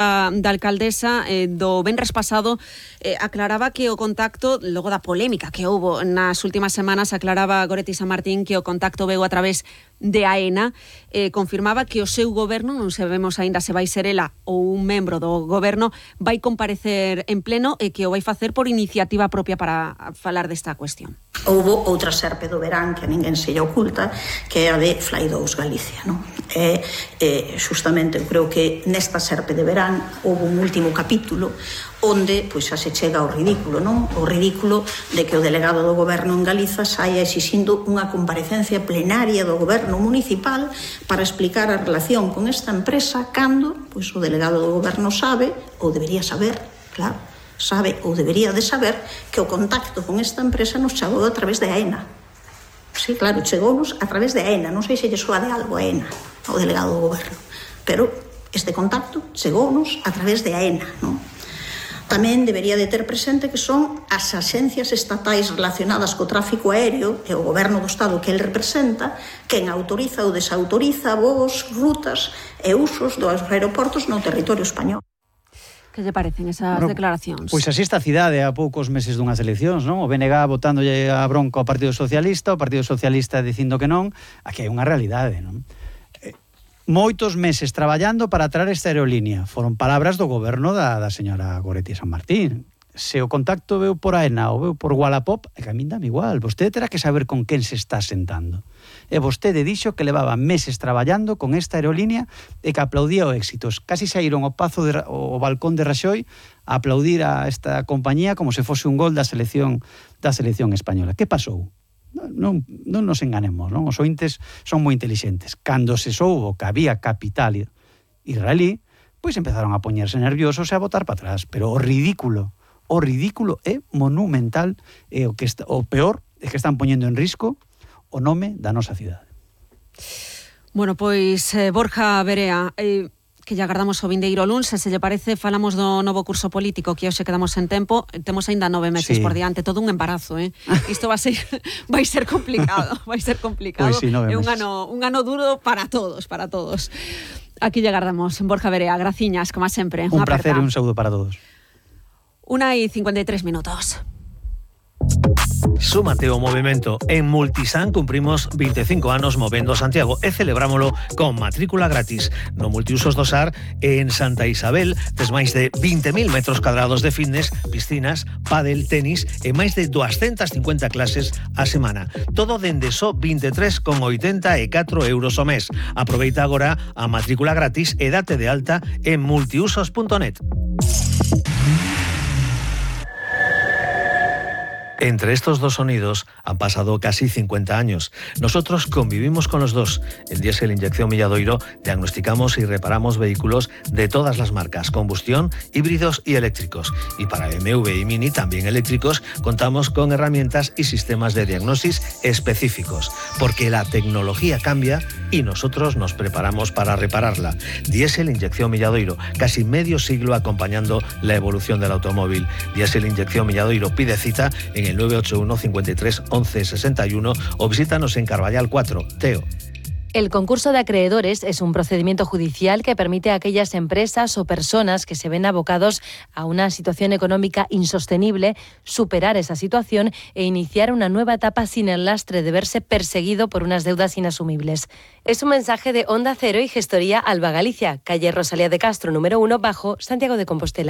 da alcaldesa do venres pasado aclaraba que o contacto, logo da polémica que houbo nas últimas semanas, aclaraba Goretti San Martín que o contacto veu a través de AENA, confirmaba que o seu goberno, non sabemos aínda se vai ser ela ou un membro do goberno, vai comparecer en pleno e que o vai facer por iniciativa propia para falar desta cuestión. Houbo outra serpe do verán que a ninguén se lle oculta, que é a de Fly 2 Galicia, non? Justamente, eu creo que nesta serpe de verán houve un último capítulo onde pois xa se chega ao ridículo, non? O ridículo de que o delegado do goberno en Galiza saia exixindo unha comparecencia plenaria do goberno municipal para explicar a relación con esta empresa cando pois o delegado do goberno sabe, ou debería saber, claro, sabe ou debería de saber que o contacto con esta empresa nos chegou a través de AENA. Sí, claro, chegounos a través de AENA, non sei se lle soa de algo AENA, o delegado do goberno, pero este contacto chegounos a través de AENA, non? Tamén debería de ter presente que son as axencias estatais relacionadas co tráfico aéreo e o goberno do Estado que el representa quen autoriza ou desautoriza voos, rutas e usos dos aeroportos no territorio español. Que lle parecen esas declaracións? Pois así está a cidade a poucos meses dunhas eleccións, non? O BNG botándolle a bronca ao Partido Socialista, o Partido Socialista dicindo que non, aquí hai unha realidade, non? Moitos meses traballando para traer esta aerolínea. Foron palabras do goberno da señora Goretti San Martín. Se o contacto veu por AENA ou veu por Wallapop, é que a min dame igual. Vostede terá que saber con quen se está sentando. E vostede dixo que levaba meses traballando con esta aerolínea e que aplaudía o éxitos. Casi saíron ao balcón de Raxoi a aplaudir a esta compañía como se fose un gol da selección española. Que pasou? Non nos enganemos, non? Os ointes son moi intelixentes. Cando se soubo que había capital israelí, pois empezaron a poñerse nerviosos e a botar para atrás. Pero o ridículo é monumental e o peor é que están poñendo en risco o nome da nosa cidade. Bueno, pois Borja Verea, que lle agardamos o vindeiro luns, se lle parece, falamos do novo curso político que hoxe quedamos en tempo, temos aínda 9 meses por diante, todo un embarazo, Isto vai ser complicado, Pois sí, é un ano duro para todos. Aquí lle agardamos, Borja Verea, graciñas, como sempre. Un placer e un saúdo para todos. 1:53 minutos. Súmate ao movimento. En Multisan cumprimos 25 anos movendo Santiago e celebrámolo con matrícula gratis. No Multiusos do Sar en Santa Isabel tes máis de 20.000 metros cuadrados de fitness, piscinas, pádel, tenis e máis de 250 clases a semana. Todo dende só 23,84 euros ao mes. Aproveita agora a matrícula gratis e date de alta en multiusos.net. Entre estos dos sonidos han pasado casi 50 años. Nosotros convivimos con los dos. En Diesel Inyección Milladoiro diagnosticamos y reparamos vehículos de todas las marcas, combustión, híbridos y eléctricos. Y para BMW y Mini, también eléctricos, contamos con herramientas y sistemas de diagnosis específicos. Porque la tecnología cambia y nosotros nos preparamos para repararla. Diesel Inyección Milladoiro, casi medio siglo acompañando la evolución del automóvil. Diesel Inyección Milladoiro, pide cita en el 981 53 11 61 o visítanos en Carballal 4, Teo. El concurso de acreedores es un procedimiento judicial que permite a aquellas empresas o personas que se ven abocados a una situación económica insostenible superar esa situación e iniciar una nueva etapa sin el lastre de verse perseguido por unas deudas inasumibles. Es un mensaje de Onda Cero y Gestoría Alba Galicia, calle Rosalía de Castro, número 1, bajo, Santiago de Compostela.